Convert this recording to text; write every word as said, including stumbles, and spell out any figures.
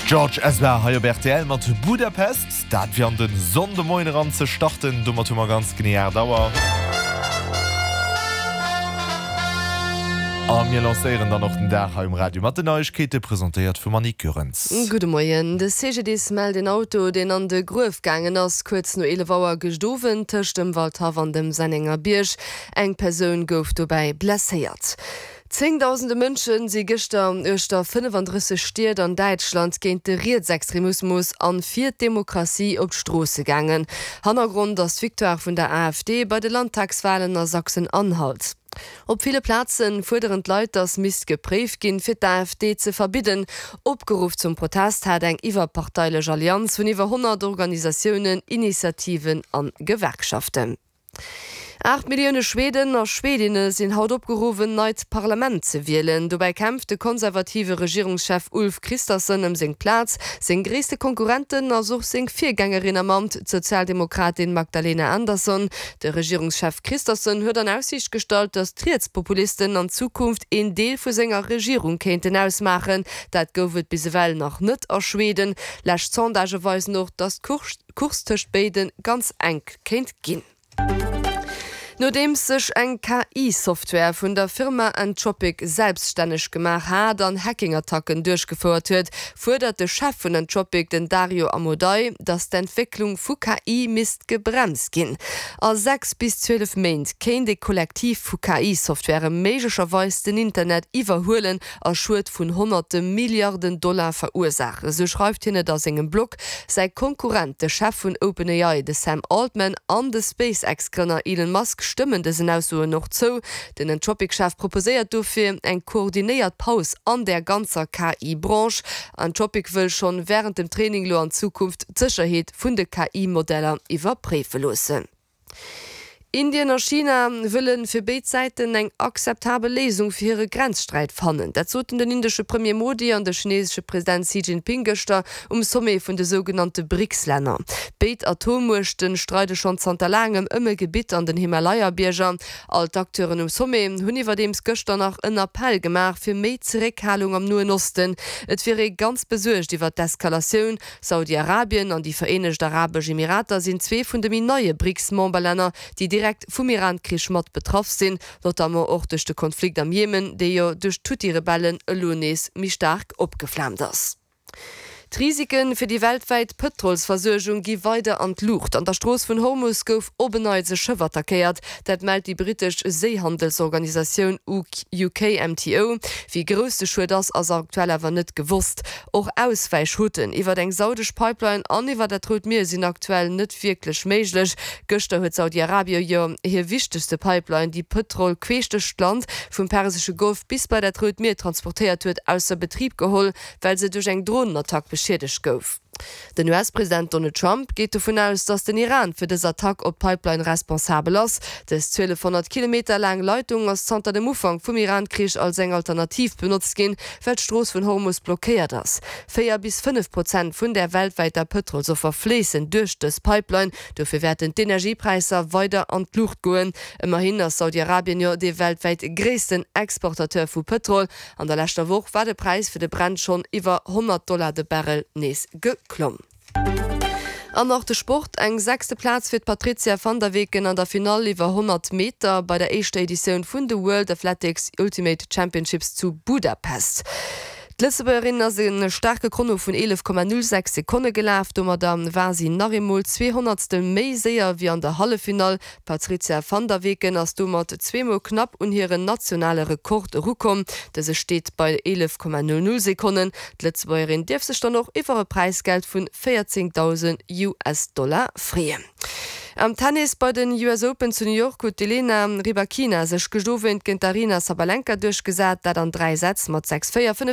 George Ezra hei op rtl mat Budapest, dat fir an de Sonndemoien eran ze starten, domat hu mer ganz genee aacht Auer. A mir lancéieren dann och den Dag hei um Radio mat den Neiegkeete, presentéiert vum Annick Goerens. Gudde Moien. De CGDIS mellt een Auto, deen an de Gruef gaangen ass, kuerz no eelef Auer gëscht Owend tëscht dem Waldhaff an dem Sennengerbierg. Eng Persoun gouf dobäi blesséiert. Zéngdausende Mënsche si gëschter uechter fënnefandrësseg Stied an Däitschland géint de Rietsextremismus an fir d'Demokratie op d'Stroosse gaangen. Hannergrond ass d'Victoire vun der AfD bei de Landtagswalen a Sachsen-Anhalt. Op ville Plaze fuerderen d'Leit, datt misst gepréift ginn, fir d'AfD ze verbidden. Opgeruff zum Protest hat eng iwwerparteilech Allianz vun iwwer honnert Organisatiounen, Initiativen an Gewerkschaften. Aacht Millioune Schweden a Schwedinne sinn haut opgeruff, en neit Parlament ze wielen. Dobäi kämpft de konservative Regierungschef Ulf Kristersson ëm seng Plaz. Seng gréisste Konkurrentin ass och seng Virgängerin am Amt, d'Sozialdemokratin Magdalena Andersson. De Regierungschef Kristersson huet an Aussiicht gestallt, datt d'Rietspopulisten an Zukunft een Deel vu senger Regierung kéinten ausmaachen. Dat gouf et bis ewell nach net a Schweden. Lescht Sondagë weisen och, datt d'Course tëscht béide ganz enk kéint ginn. Nodeems sech eng K I-Software vun der Firma Anthropic selbststänneg gemaach hat an Hacking-Attacken duerchgefouert huet, fuerdert de Chef vun Anthropic, den Dario Amodei, datt d'Entwécklung vu K I misst gebremst ginn. A sechs bis zwielef Méint kéint e Kollektiv vu K I-Softwarë méiglecherweis den Internet iwwerhuelen a Schued vun honnerte Milliarden Dollar verursaachen, esou schreift hien et a sengem Blog. Säi Konkurrent, de Chef vun OpenAI, de Sam Altman, an de SpaceX-Grënner Elon Musk stëmmen dësen Aussoen och zou. Den Anthropic-Chef proposéiert dofir eng koordinéiert Paus an der ganzer K I-Branche. Anthropic wëll schonn wärend dem Training elo an Zukunft d'Sécherheet vun de K I-Modeller iwwerpréife loossen. Indien a China wëlle fir béid Säiten eng akzeptabel Léisung fir hire Grenzsträit fannen. Dat soten den indesche Premier Modi an de chinesesche President Xi Jinping gëschter um Sommet vun de sougenannte BRICS-Länner. Béid Atommuechte streide schonn zanter laangem ëm e Gebitt an den Himalaya-Bierger. All d'Acteuren um Sommet hunn iwwerdeems gëschter nach en Appell gemaach fir méi Zeréckhalung am Noen Osten. Et wier ee ganz besuergt iwwer d'Eskalatioun. Saudi-Arabien an déi Vereenegt Arabesch Emirater sinn zwee vun de méi neie BRICS-Memberlänner, déi direkt vum Iran-Krich mat betraff sinn, notamment och duerch de Konflikt am Jemen, dee jo duerch d'Huthi-Rebellen elo nees méi staark opgeflaamt ass. D'Risike fir déi weltwäit Pëtrolsversuergung gi weider an d'Luucht. An der Strooss vun Hormus gouf op en Neits e Schëff attackéiert. Dat mellt déi brittesch Séihandelsorganisatioun U K M T O. Wéi grouss de Schued ass, ass aktuell awer net gewosst. Och Auswäichrouten iwwer eng saudesch Pipeline an iwwer dat Rout Mier sinn aktuell net wierklech méiglech. Gëschter huet Saudi-Arabie jo hir wichtegste Pipeline, déi Pëtrol queesch duerch d'Land vum Persesche Golf bis bei dat Rout Mier transportéiert huet, ausser Betrib geholl, well se duerch eng Dronenattack beschiedegt gouf. Den U S-President Donald Trump geet dovun aus, datt den Iran fir dës Attack op d'Pipeline responsabel ass. Dës zwielefhonnert Kilometer laang Leitung ass zanter dem Ufank vum Iran-Krich als eng Alternativ benotzt ginn, well d'Strooss vun Hormus blockéiert ass. Véier bis fënnef Prozent vun der weltwäiter Pëtrolsoffer fléissen duerch dës Pipeline. Dofir wäerten d'Energiepräisser weider an d'Luucht goen. Ëmmerhin ass Saudi-Arabien jo dee weltwäit gréissten Exportateur vu Pëtrol. An der leschter Woch war de Präis fir de Brent schonn iwwer honnert Dollar de Barrel nees geklomm. An nach de Sport, Eng sechste Plaz fir d'Patrizia van der Weken an der Finall iwwer honnert Meter bei der éischter Editioun vun de World Athletics Ultimate Championships zu Budapest. D'Lëtzebuergerin ass e staarke Chrono vun eelef Komma null sechs Sekonne gelaf. Domadder war si nach eemol zwee Honnertstel méi séier wéi an der Halleffinall. D'Patrizia van der Weken ass domat zweemol knapp un hiren nationale Rekord erukomm. Dëse steet bei eelef Komma null null Sekonnen. D'Lëtzebuergerin dierf sech dann och iwwer e Präisgeld vun véierzéngdausend U S-Dollar freeën. Am Tennis bei den U S Open zu New York huet d'Elena Rybakina sech gëscht Owend géint d'Aryna Sabalenka duerchgesat, dat an dräi Sätz mat sechs, véier, fënnef.